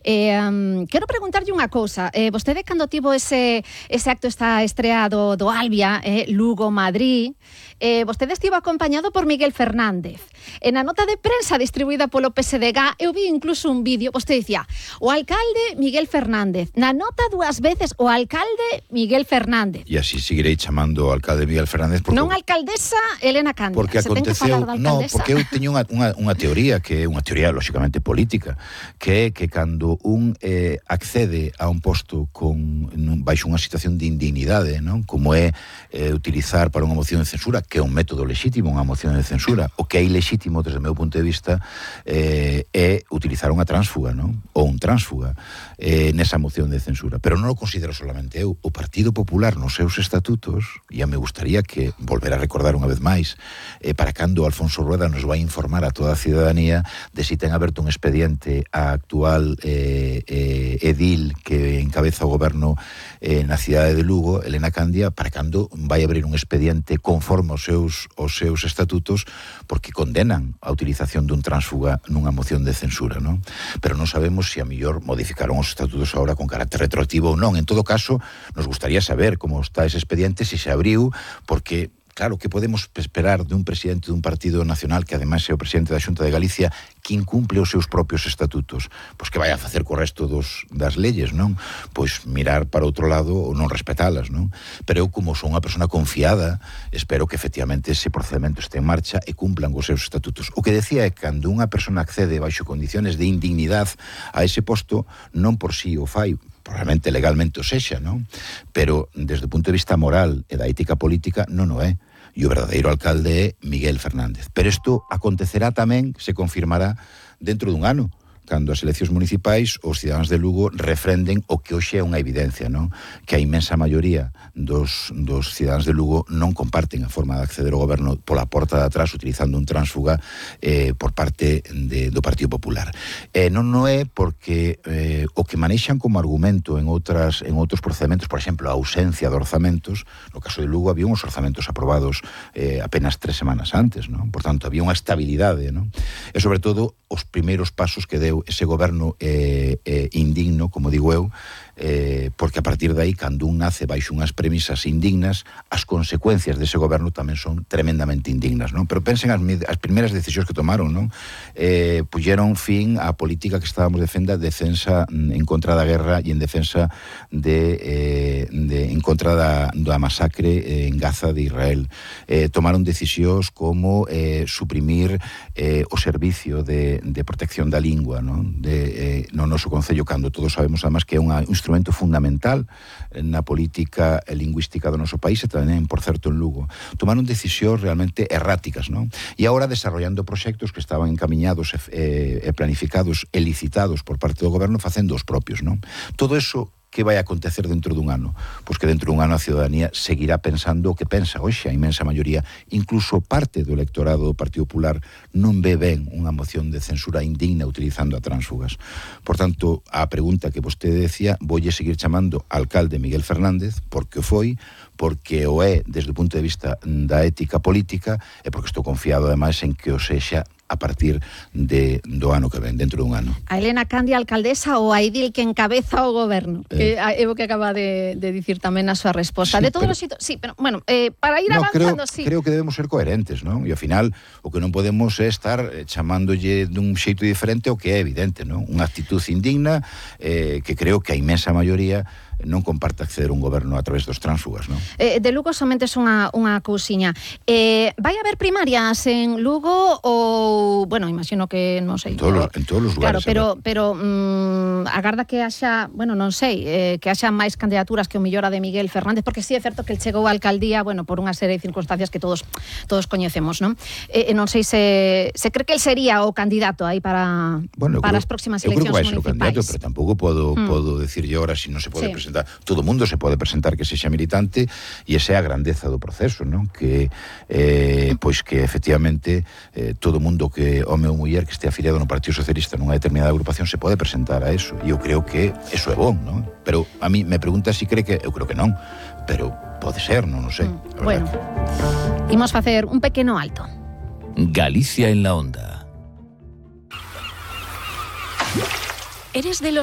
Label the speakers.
Speaker 1: Quero preguntarlle unha cousa. Vostede, cando tivo ese acto, esta estrea do Albia, Lugo-Madrid, vostede estivo acompañado por Miguel Fernández. Na nota de prensa distribuída polo PSDG, eu vi incluso un vídeo, vostede dicía, o alcalde Miguel Fernández. Na nota 2 veces, o alcalde Miguel Fernández.
Speaker 2: E así seguirei chamando o alcalde Miguel Fernández. Porque,
Speaker 1: non alcaldesa Elena Candia.
Speaker 2: Porque aconteceu, porque eu teño unha teoría, que é unha teoría lóxicamente política, que é que cando un accede a un posto baixo unha situación de indignidade, non? Como é utilizar para unha moción de censura, que é un método lexítimo, unha moción de censura, o que é ilexítimo desde o meu punto de vista é utilizar unha tránsfuga, non? Ou un tránsfuga nesa moción de censura. Pero non o considero solamente eu. O Partido Popular nos seus estatutos, e me gustaría que volver a recordar unha vez máis, para cando Alfonso Rueda nos vai informar a toda a ciudadanía de si ten aberto un expediente a actual edil que encabeza o goberno na cidade de Lugo, Elena Candia, para cando vai abrir un expediente conforme aos seus estatutos, porque condenan a utilización dun tránsfuga nunha moción de censura, non? Pero non sabemos se a mellor modificaron os estatutos agora con carácter retroactivo ou non. En todo caso, nos gustaría saber como está ese expediente, se se abriu, porque claro, que podemos esperar dun presidente dun partido nacional que ademais é o presidente da Xunta de Galicia, que incumple os seus propios estatutos? Pois que vai a facer co resto das leyes, non? Pois mirar para outro lado ou non respetalas, non? Pero eu, como son unha persona confiada, espero que efectivamente ese procedimento este en marcha e cumplan os seus estatutos. O que decía é que cando unha persona accede baixo condiciones de indignidade a ese posto, non por si o fai, probablemente legalmente o sexa, non? Pero desde o punto de vista moral e da ética política non o é. E o verdadeiro alcalde é Miguel Fernández. Pero isto acontecerá tamén, se confirmará, dentro dun ano, cando as eleccións municipais os cidadáns de Lugo refrenden o que hoxe é unha evidencia, non? Que a inmensa maioría dos cidadáns de Lugo non comparten a forma de acceder ao goberno pola porta de atrás utilizando un tránsfuga por parte do Partido Popular. Non é porque o que manexan como argumento en outros procedementos, por exemplo, a ausencia de orzamentos, no caso de Lugo había uns orzamentos aprobados apenas 3 semanas antes, non? Por tanto, había unha estabilidade, non? E sobre todo, os primeiros pasos que deu ese goberno indigno, como digo eu, porque a partir de aí, cando un nace baixo unhas premisas indignas, as consecuencias dese goberno tamén son tremendamente indignas, non? Pero pensen as primeiras decisións que tomaron, non? Puxeron fin á política que estábamos defensa en contra da guerra e en defensa en contra da masacre en Gaza de Israel. Tomaron decisións como suprimir o servicio de protección da lingua, non? No noso concello, cando todos sabemos además que é un instrumento fundamental na política lingüística do noso país e tamén, por certo, en Lugo. Tomaron decisións realmente erráticas, non? E agora desarrollando proxectos que estaban encamiñados e planificados e licitados por parte do goberno facendo os propios, non? Todo eso que vai acontecer dentro dun ano? Pois que dentro dun ano a ciudadanía seguirá pensando o que pensa hoxe a inmensa maioría, incluso parte do electorado do Partido Popular non ve ben unha moción de censura indigna utilizando a tránsfugas. Por tanto, a pregunta que vostede decía, voulle seguir chamando alcalde Miguel Fernández, porque o foi, porque o é desde o punto de vista da ética política e porque estou confiado ademais en que o sexa a partir do ano que ven, dentro dun ano.
Speaker 1: A Elena Candia, alcaldesa, ou a edil que encabeza o goberno? Que é o que acaba de dicir tamén na súa resposta. Sí, de todos os sitios, sí, pero, bueno, para ir avanzando, sí.
Speaker 2: Creo que debemos ser coherentes, non? E ao final, o que non podemos é estar chamándolle dun xeito diferente o que é evidente, non? Unha actitud indigna que creo que a inmensa maioría non comparte acceder a un goberno a través dos tránsfugas, non?
Speaker 1: De Lugo somente é unha cousiña. Vai haber primarias en Lugo ou, bueno, imagino que, non sei.
Speaker 2: En todos os lugares.
Speaker 1: Claro, pero agarda que haxa, bueno, non sei, que haxa máis candidaturas que o mellor a de Miguel Fernández, porque sí é certo que el chegou á alcaldía, bueno, por unha serie de circunstancias que todos coñecemos, non? Non sei se cree que el sería o candidato aí para as próximas eleccións municipais.
Speaker 2: Eu creo que vai ser o candidato, pero tampouco podo decirlle ahora se non se pode presentar. Todo o mundo se pode presentar que sexa militante e esa é a grandeza do proceso, non? Que pois que efectivamente todo o mundo que home ou muller que este afiliado no Partido Socialista nunha determinada agrupación se pode presentar a eso, e eu creo que eso é bon, non? Pero a mí me pregunta se cree que eu creo que non, pero pode ser, non o sei.
Speaker 1: Bueno, imos facer un pequeno alto.
Speaker 3: Galicia en la onda.
Speaker 4: ¿Eres de los